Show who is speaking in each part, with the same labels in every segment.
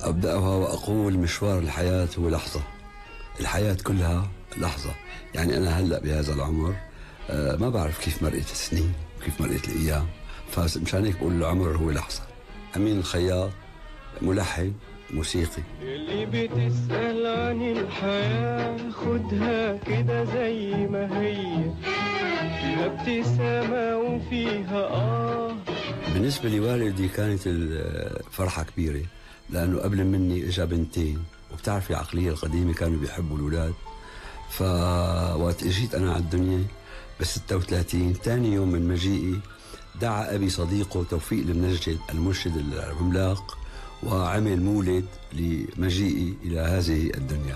Speaker 1: أبدأها وأقول مشوار الحياة هو لحظة. الحياة كلها لحظة. يعني أنا هلأ بهذا العمر ما بعرف كيف مرقت السنين وكيف مرقت الأيام، فمشان هيك بقول العمر هو لحظة. أمين الخياط ملحن موسيقي.
Speaker 2: اللي بتسأل عن الحياة خدها كده زي ما هي، فيها ابتسامة وفيها
Speaker 1: بالنسبة لوالدي كانت الفرحة كبيرة، لأنه قبل مني إجا بنتين، وبتعرفي العقلية القديمة كانوا بيحبوا الأولاد. فوقت اجيت أنا على الدنيا ب36 تاني يوم من مجيئي دعا أبي صديقه توفيق المنجد المرشد العملاق وعمل مولد لمجيئي إلى هذه الدنيا.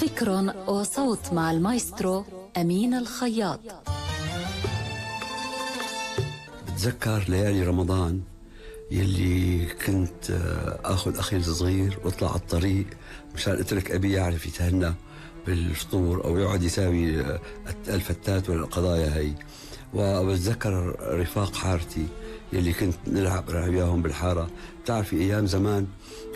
Speaker 3: فكر وصوت مع المايسترو أمين الخياط.
Speaker 1: بتذكر ليالي رمضان يلي كنت أخذ أخي الصغير واطلع على الطريق مشان أترك أبي يعرف يتهنى بالفطور أو يقعد يساوي الفتات والقضايا هي. وبتذكر رفاق حارتي يلي كنت نلعب وياهم بالحارة. بتعرفي أيام زمان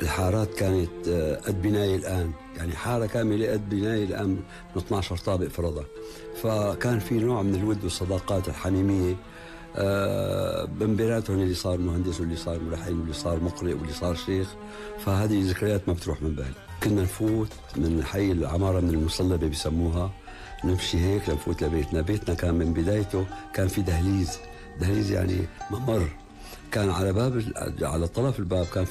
Speaker 1: الحارات كانت قد بناية الآن، يعني حارة كاملة قد بناية الآن من 12 طابق فرضا. فكان في نوع من الود والصداقات الحميمية من بيناتهم اللي صار مهندس واللي صار ملحن واللي صار مقرئ واللي صار شيخ. فهذه ذكريات ما بتروح من بالي. كنا نفوت من حي العمارة من المصلبة بيسموها، نمشي هيك لنفوت لبيتنا. بيتنا كان من بدايته كان في دهليز يعني ممر، كان على باب على طرف الباب كان في